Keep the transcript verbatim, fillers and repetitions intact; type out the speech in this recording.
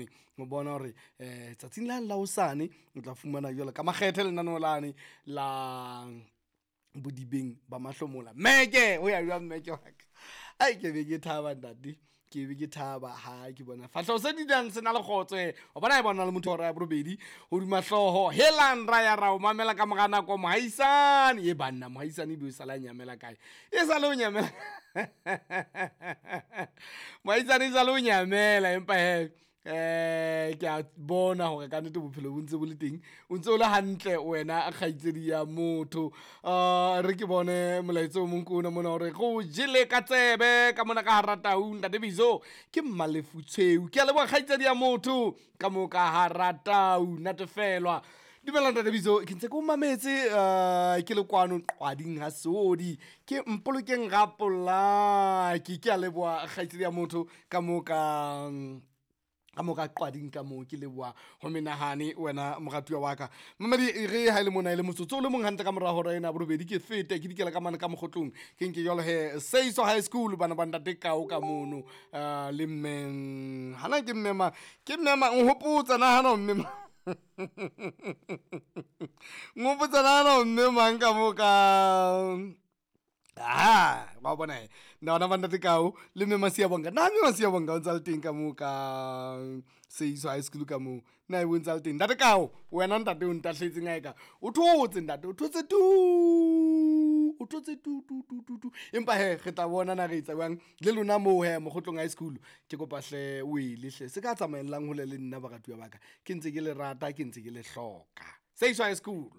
mane ho bona hore um tsatsing lane la hosane o tla fumana jwalo ka makgethe lenaneo lane la bodibeng ba mahlomola. Mmeke ho ya jwang mmeke wa ka? Ai, ke be ke thaba ntate, ke be ke thaba ha ke bona fahleho se dulang se na le kgotso. E wa bona e bona le motho hora ya borobedi hodima hlooho. Helang ra ya ra o mamela ka mora nako mohaisane. E banna mohaisane ebe o sala nyamela kae? E sale o nyamela mohaisane, e sale o nyamela. Empa hee um ke a bona hore kannete bophelo bo ntse bo le teng, o ntse o le hantle wena kgaitsedi ya motho. um Re ke bone molaetsa o mong ke ona mona hore re o jele ka tsebe ka mona ka hara tau. Ntate Bizo ke Mmalefutshweu, ke a leboha kgaitsedi ya motho ka moo ka hara tau. Natefelwa. Dumela ntate Bizo, ke ntse ke o mametse um ke le kwano Qwading ha Seodi, ke Mpolokeng Rapolaki. Ke a leboha kgaitsedi ya motho ka moo ka ka moo ka Qwading ka moo, ke leboha ho menahane wena moratuwa wa ka. Mamedi e re ha e le mona e le motsotso o le mong hantle ka mora hora ena borobedi, ke fete ke dikela ka mane ka mokgotlong, ke nke jwalo he Seiso High School bana ba ntate Kao ka mono uh, le mme hana ke mme mang, ke mme mang nhopotsa nahana mme mang nhopotsa nahana mme mang ka moo ka aha wa bona he nna ba ntate Kao le mme Masiabonga. Na mme Masiabonga o ntsa le teng ka moo ka Seiso High School ka moo? Na e bo ntsa le teng ntate Kao? Wena ntate o ntahletseng ae ka o thotse ntate, o thotse tu, o thotse tu tu tu tu tu. Empa he re tla bona na re etsa jwang le lona moo he Mokgotlong High School. Ke kopa hle o ele hle se ka tsamaellang hole le nna baratuwa ba ka, ke ntse ke le rata, ke ntse ke le hloka. Seiso High School.